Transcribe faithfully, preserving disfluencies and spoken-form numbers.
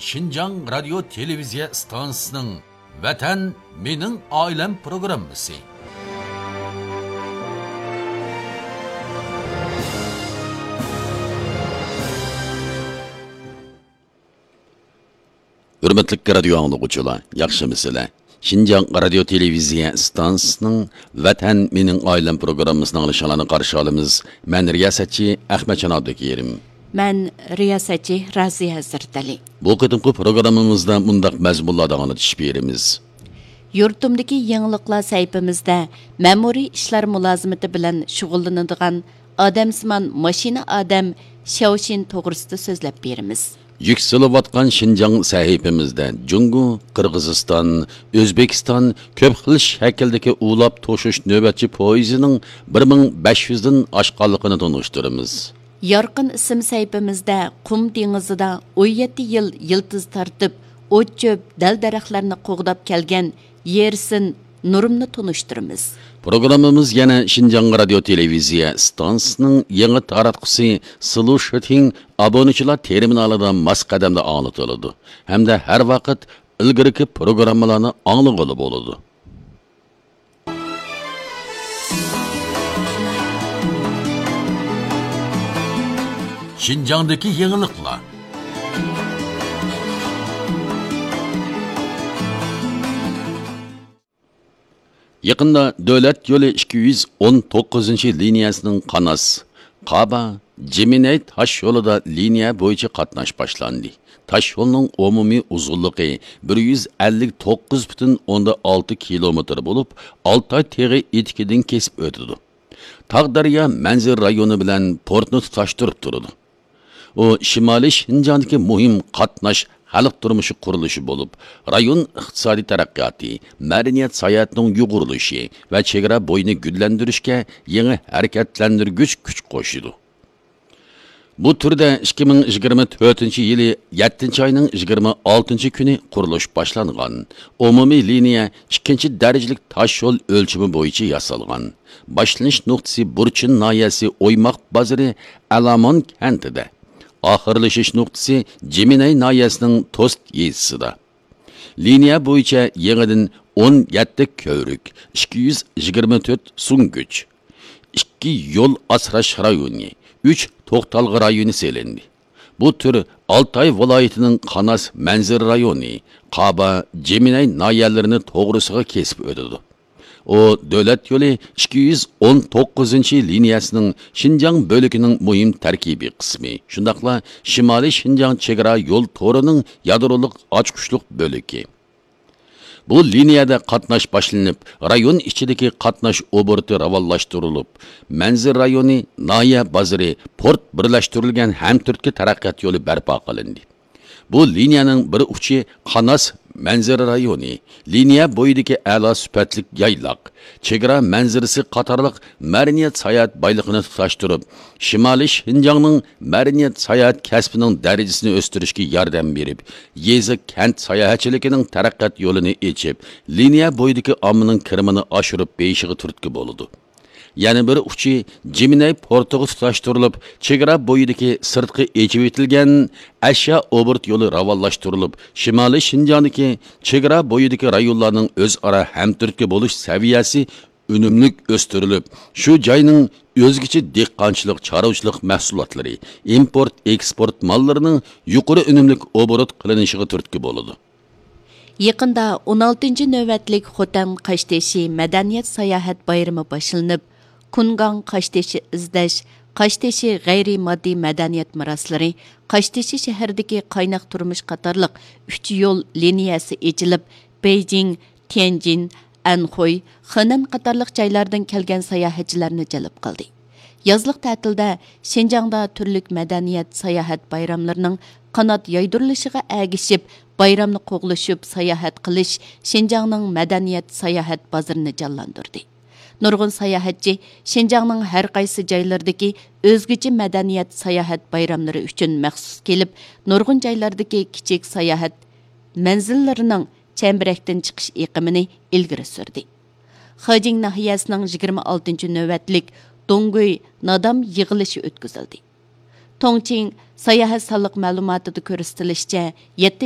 شىنجاڭ رادىيو تېلېۋىزىيە ئىستانسىسىنىڭ ۋەتەن مېنىڭ ئائىلەم پروگراممىسى. ھۆرمەتلىك رادىيو ئاڭلىغۇچىلار، ياخشىمۇسىلەر؟ شىنجاڭ رادىيو تېلېۋىزىيە ئىستانسىسىنىڭ ۋەتەن مېنىڭ ئائىلەم پروگراممىسىنى ئاڭلىشىڭلارنى قارشى ئالىمىز. مەن رىياسەتچى ئەخمەتجان ئابدۇكېرىم. مەن رىياسەتچى رازىيە ھەزرىتەلى. بۇ قېتىمقى پروگراممىمىزدا مۇنداق مەزمۇنلاردا ئاڭلىتىش بېرىمىز. يۇرتۇمدىكى يېڭىلىقلار سەھىپىمىزدە مەمۇرىي ئىشلار مۇلازىمىتى بىلەن شۇغۇللىنىدىغان ئادەمسىمان ماشىنا ئادەم شياۋشىن توغرىسىدا سۆزلەپ بېرىمىز. يۈكسىلىۋاتقان شىنجاڭ سەھىپىمىزدە جۇڭگو، قىرغىزىستان، ئۆزبېكىستان كۆپ خىل شەكىلدىكى ئۇلاپ توشۇش نۆۋەتچى پويىزىنىڭ بىر مىڭ بەش يۈزدىن ئاشقانلىقىنى تونۇشتۇرىمىز. يارقىن ئىسىم سەھىپىمىزدە قۇم دېڭىزىدا ئون يەتتە يىل يىلتىز تارتىپ، ئوت-چۆپ، دەل-دەرەخلەرنى قوغداپ كەلگەن يېرسىن نۇرۇمنى تونۇشتۇرىمىز. پروگراممىمىز يەنە شىنجاڭ رادىيو تېلېۋىزىيە ئىستانسىسىنىڭ يېڭى تاراتقۇسى سلۇشىتىڭ ئابۇنىچىلار تېرمىنالىدا ماس قەدەمدە ئاڭلىتىلىدۇ ھەمدە ھەر ۋاقىت ئىلگىرىكى پروگراممىلارنى ئاڭلىغىلى بولىدۇ. شىنجاڭدىكى يېڭىلىقلار. يېقىندا دۆلەت يولى ئىككى يۈز ئون توققۇزىنچى لىنىيەسىنىڭ قاناس، قابا، جىمىنەي تاش يولىدا لىنىيە بويىچە قاتناش باشلاندى. تاش يولنىڭ ئومۇمىي ئۇزۇنلۇقى بىر يۈز ئەللىك توققۇز پۈتۈن ئوندىن ئالتە كىلومېتىر بولۇپ، ئالتاي تېغى ئېتىكىدىن كېسىپ ئۆتىدۇ. تاغ دەريا مەنزىرە رايونى بىلەن پورتنى تۇتاشتۇرۇپ تۇرىدۇ. ئۇ شىمالىي شىنجاڭدىكى مۇھىم قاتناش خەلق تۇرمۇشى قۇرۇلۇشى بولۇپ، رايون ئىقتىسادىي تەرەققىياتى، مەدەنىيەت ساياھەتنىڭ يۇغۇرۇلۇشى ۋە چېگرا بويىنى گۈللەندۈرۈشكە يېڭى ھەرىكەتلەندۈرگۈچ كۈچ قوشىدۇ. بۇ تۈردە ئىككى مىڭ يىگىرمە تۆتىنچى يىلى يەتتىنچى ئاينىڭ يىگىرمە ئالتىنچى كۈنى قۇرۇلۇش باشلانغان. ئومۇمىي لىنىيە ئىككىنچى دەرىجىلىك تاش يول ئۆلچىمى بويىچە ياسالغان. باشلىنىش نۇقتىسى بۇرچىن ناھىيەسى ئويماق بازىرى ئەلامون كەنتىدە. ئاخىرلىشىش نۇقتىسى جىمىنەي ناھىيەسىنىڭ توست يېزىسىدا. لىنىيە بويىچە يېڭىدىن ئون يەتتە كۆۋرۈك، ئىككى يۈز يىگىرمە تۆت سۈڭگۈچ، ئىككى يول ئاسراش رايونى، ئۈچ توختالغۇ رايونى سېلىندى. بۇ تۈر ئالتاي ۋىلايىتىنىڭ قاناس مەنزىرە رايونى، قابا، جىمىنەي ناھىيەلىرىنى توغرىسىغا كېسىپ ئۆتىدۇ. ئۇ دۆلەت يولى ئىككى يۈز ئون توققۇزىنچى لىنىيەسىنىڭ شىنجاڭ بۆلىكىنىڭ مۇھىم تەركىبىي قىسمى، شۇنداقلا شىمالىي شىنجاڭ چېگرا يول تورىنىڭ يادرولۇق ئاچقۇچلۇق بۆلىكى. بۇ لىنىيەدە قاتناش باشلىنىپ، رايون ئىچىدىكى قاتناش ئوبوروتى راۋانلاشتۇرۇلۇپ، مەنزىرە رايونى، ناھىيە بازىرى، پورت بىرلەشتۈرۈلگەن ھەمتۈرتكە تەرەققىيات يولى بەرپا قىلىندى. بۇ لىنىيەنىڭ بىر ئۇچى قاناس مەنزىرە رايونى، لىنىيە بويىدىكى ئەلا سۈپەتلىك يايلاق، چېگرا مەنزىرىسى قاتارلىق مەدەنىيەت ساياھەت بايلىقىنى تۇتاشتۇرۇپ، شىمالىي شىنجاڭنىڭ مەدەنىيەت ساياھەت كەسپىنىڭ دەرىجىسىنى ئۆستۈرۈشكە ياردەم بېرىپ، يېزا، كەنت ساياھەتچىلىكىنىڭ تەرەققىيات يولىنى ئېچىپ، لىنىيە بويىدىكى ئاممىنىڭ كىرىمىنى ئاشۇرۇپ بېرىشىغا تۈرتكە بولىدۇ. يەنە بىر ئۇچى جىمىنەي پورتىغا تۇتاشتۇرۇلۇپ، چېگرا بويىدىكى سىرتقى ئېچىۋېتىلگەن ئەشيا ئوبوروت يولى راۋانلاشتۇرۇلۇپ، شىمالىي شىنجاڭدىكى چېگرا بويىدىكى رايونلارنىڭ ئۆزئارا ھەمتۈرتكە بولۇش سەۋىيەسى ئۈنۈملۈك ئۆستۈرۈلۈپ، شۇ جاينىڭ ئۆزگىچە دېھقانچىلىق، چارۋىچىلىق مەھسۇلاتلىرى، ئىمپورت، ئېكسپورت ماللىرىنىڭ يۇقىرى ئۈنۈملۈك ئوبوروت قىلىنىشىغا تۈرتكە بولىدۇ. يېقىندا ئون ئالتىنچى نۆۋەتلىك خوتەن قاشتېشى مەدەنىيەت ساياھەت بايرىمى باشلىنىپ، كۇنگاڭ قاشتېشى ئىزدەش، قاشتېشى غەيرىي ماددىي مەدەنىيەت مىراسلىرى، قاشتېشى شەھىرىدىكى قايناق تۇرمۇش قاتارلىق ئۈچ يول لىنىيەسى ئېچىلىپ، بېيجىڭ، تيەنجىن، ئەنخۇي، خېنەن قاتارلىق جايلاردىن كەلگەن ساياھەتچىلەرنى جەلپ قىلدى. يازلىق تەتىلدە شىنجاڭدا تۈرلۈك مەدەنىيەت، ساياھەت بايراملىرىنىڭ قانات يايدۇرۇلۇشىغا ئەگىشىپ، بايرامنى قوغلىشىپ ساياھەت قىلىش شىنجاڭنىڭ مەدەنىيەت، ساياھەت بازىرىنى جانلاندۇردى. نۇرغۇن ساياھەتچى شىنجاڭنىڭ ھەر قايسى جايلىرىدىكى ئۆزگىچە مەدەنىيەت، ساياھەت بايراملىرى ئۈچۈن مەخسۇس كېلىپ، نۇرغۇن جايلاردىكى كىچىك ساياھەت مەنزىللىرىنىڭ چەمبىرەكتىن چىقىش ئېقىمىنى ئىلگىرى سۈردى. خېجىڭ ناھىيەسىنىڭ يىگىرمە ئالتىنچى نۆۋەتلىك دوڭگۇي نادام يىغىلىشى ئۆتكۈزۈلدى. توڭچىڭ ساياھەت سانلىق مەلۇماتىدا كۆرسىتىلىشىچە، يەتتىنچى